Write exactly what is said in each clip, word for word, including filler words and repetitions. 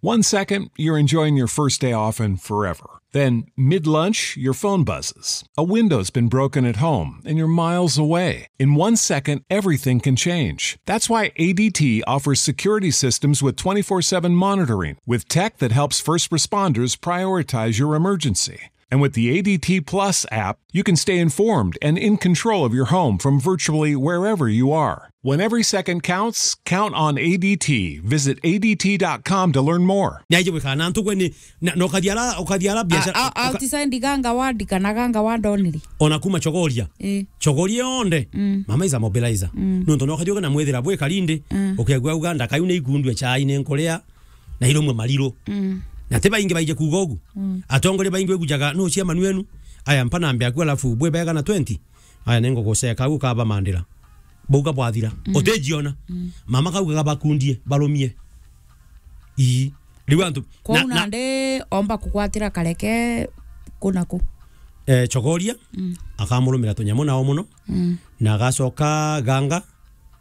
One second, you're enjoying your first day off and forever. Then, mid lunch, your phone buzzes. A window's been broken at home and you're miles away. In one second, everything can change. That's why A D T offers security systems with twenty-four seven monitoring, with tech that helps first responders prioritize your emergency. And with the A D T Plus app, you can stay informed and in control of your home from virtually wherever you are. When every second counts, count on A D T. Visit A D T dot com to learn more. Ni aije gwikana na antu gwe ni, na, na ukathiara, ukathiara biashara, a, a, uka- outside Ganga ward kana Ganga ward only. Ona kuma Chogoria. Eh. Chogoria yonde. Mm. Mama is a mobilizer. Mm. Nontu no ukathiuka na mwithira bwi karindi, mm, ukiagua uga ndakaiu ni ikundue chai ni nkuria, na iromwe mariru. Mm. Na ti baingi baije kuuga ugu. Mm. Atongoria baingi wigujaga, "No chairman wenu?" Aya, mpa nambe aku, alafu bwi bega na twenty. Aya, ninguguceka au ukabamandira. Bauga bwathira. Mm. Utijiona. Mm. Mama kaugaga bakundie, barumie. Ii. Riu antu, kwou na, na nandi omba kugwatira Kareke ku na ku? Eh, Chogoria, mm, akamurumira tunyamu nao muno. Mm. Na agacoka Ganga,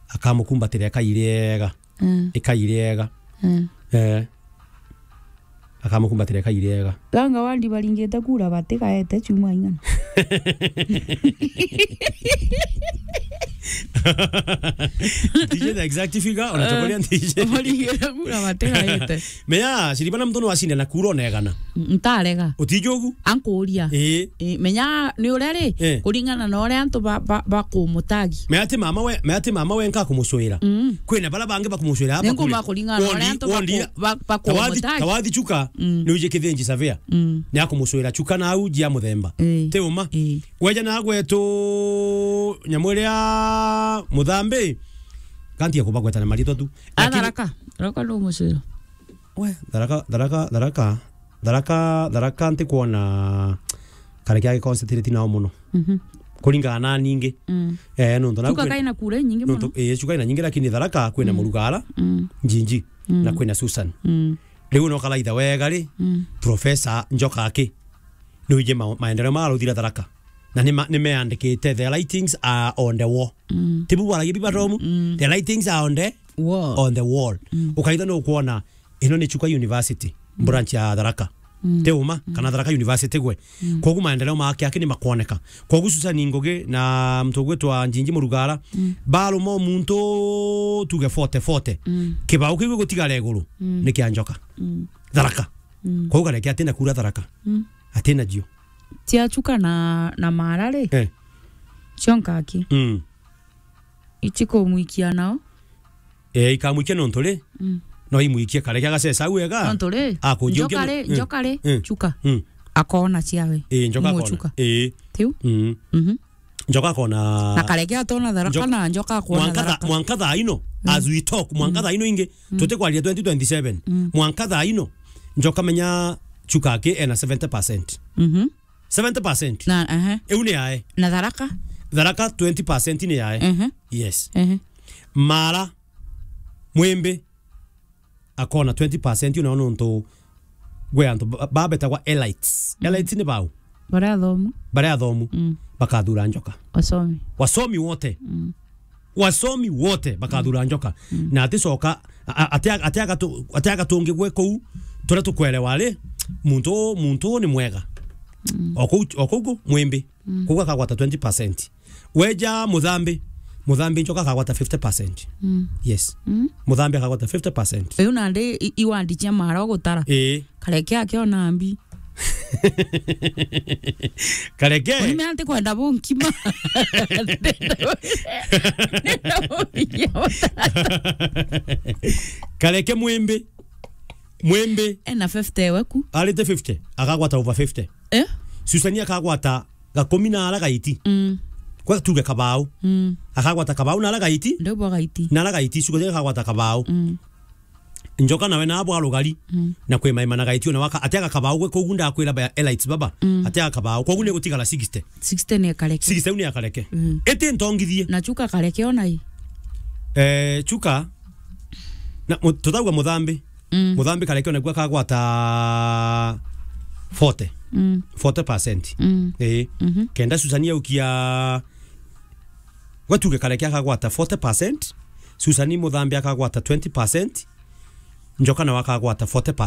akamukumbatira eka iriega. Mm. Eka iriega. Mm. Eh. Akamukumbatira eka iriega. Ganga ward baringite kura batigaete chuma ing'ana. Ntiji the exact figure, ona Chogoria ntiji. Baringite kura batigaete. Mea, shiribana mtu no ashinde na kura onegana. Ntarega. Utijugu? Ankuria. Ii. Ii, menya ni uria ri, eh, kuringana na uria antu ba, ba, bakumutagi. Mea ati mama we, mea ati mama we nka kumucwira. Mm. Kwina bara bangi bakumucwira hapa. Ningumba kuri kuringana na uria antu baku-, ba-, bakumutagi. Tawathi, tawathi Chuka, mm, ni uje kithinji savea. Mm. Ni akumucwira Chuka na au jia muthemba. Ii. Ti uma. Ii. Weja na gwetu nyamu iria Muthambi, kanti ya kubagweta na maritwa tu. A, lakini Tharaka. Tharaka no mucwira. We, Tharaka, Tharaka, Tharaka, Tharaka, Tharaka ntikwona Kareke agi concentrate nao muno. Mhm. Kuringana na ningi. Mm. Eh, nontu nau Chuka kwi-, kaina kura inyingi muno. Nontu, eh, Chuka ina nyingi, lakini Tharaka kwina, mm, Murugara, mm, Njinji, mm, na kwina Susan. Mm. Riu no karaitha wega ri, mm, Professor Njoka aki. Ni uje ma-, maendeleo ma ruthira Tharaka. Na ni ma-, ni meandikite, "The writings are on the wall." Mm. Tibu bwaragia biba tomu? Mm. "The writings are on the, wall, on the wall." Mm. Ukaitha no kuona, ino ni Chuka University, mm, branch ya Tharaka. Mm. Ti uma, mm, kana Tharaka University gwe. Mm. Kogu maendeleo make aki ni makwoneka. Kogu Susan Ngugi na mtu gwitwa Njinji Murugara, mm, baruma muntu tuge forty forty. Mm. Kibao kiu gutigara iguru, mm, ni kia Njoka. Mm. Tharaka. Mm. Kogu Kareke atina kura Tharaka. Mm. Atina jio. Cia Chuka na, na Mara ri? Eh. Cionka aki. Mm. Ichi kumwikia nao? Eh, ikamwikia nontu ri? Mm. No imwikie Kareke agacesa au wega. Nontu ri? Akujia Njoka ri, eh, Njoka ri, eh, Chuka. Mm. Akona ciawe. Eh, Njoka akona. Chuka. Eh. Tiu? Mm. Mhm. Njoka akona. Na Kareke atona Tharaka Njo-, na Njoka akona mwanka tha-, Tharaka. Mwanka thaa ino, mm, as we talk, mwanka, mm, thaa ino ingi, mm, tutikwaria twenty twenty-seven. Mm. Mwanka thaa ino, Njoka menya Chuka aki ena seventy percent. Mhm. Seventy percent. Na, ehe. Iu ni yae. Na Tharaka? Tharaka twenty percent ni yae. Ehe. Yes. Ehe. Mara, Mwimbi, akona twenty percent, una nontu gwe antu ba-, babetagwa elites. Mm. Elites ni bau? Baria athomu. Baria athomu. Mm. Bakathura Njoka. Wasomi. Wasomi wote. Mm. Wasomi wote bakathura Njoka. Mm. Na aticoka, a-, a-, atia-, atiaga tu-, atiaga tungi gwe kuu, turia tukwerewa ri, muntu, muntu ni mwega. Mm. O kuu, o kuu ku, Mwimbi. Mm. Kuu akagwata twenty percent. Weja Muthambi, Muthambi Njoka akagwata fifty percent. Mm. Yes. Mm. Muthambi akagwata fifty percent. Uyu nandi i-, iwandi cia Mara ugutara. Ii. Kareke akiona mbi. Kareke. Uni me anti kwenda bunkima. Kareke Mwimbi. Mwimbi. Ena fifty we ku. Arite fifty, akagwata over fifty. Eh? Susani akagwata gakumi na ara gaiti. Mm. Kwa tuge kabau. Mm. Akagwata kabau na ara gaiti. Ndio bwa gaiti. Na ara gaiti, Susani akagwata kabau. Mm. Njoka nawe na abwa rugari. Mm. Na kwi maima na gaiti ona waka, atiaga kabau gwe kogu ndakwira ba elites baba. Mm. Atiaga kabau. Kogu ni gutigara sixty. Sixty ni Kareke. Sixty ni ya Kareke. Mm. Iti ntongithie. Na Chuka Kareke ona i. Eh, Chuka, na, mu-, tutauga Muthambi. Mm. Muthambi Kareke ona gwe akagwata forty. Mm. Forty percent. Mm. Ii. Mhm. Kenda Susani aukia, gwe tuge Kareke akagwata forty percent, Susani Muthambi akagwata twenty percent, Njoka nawe akagwata forty percent.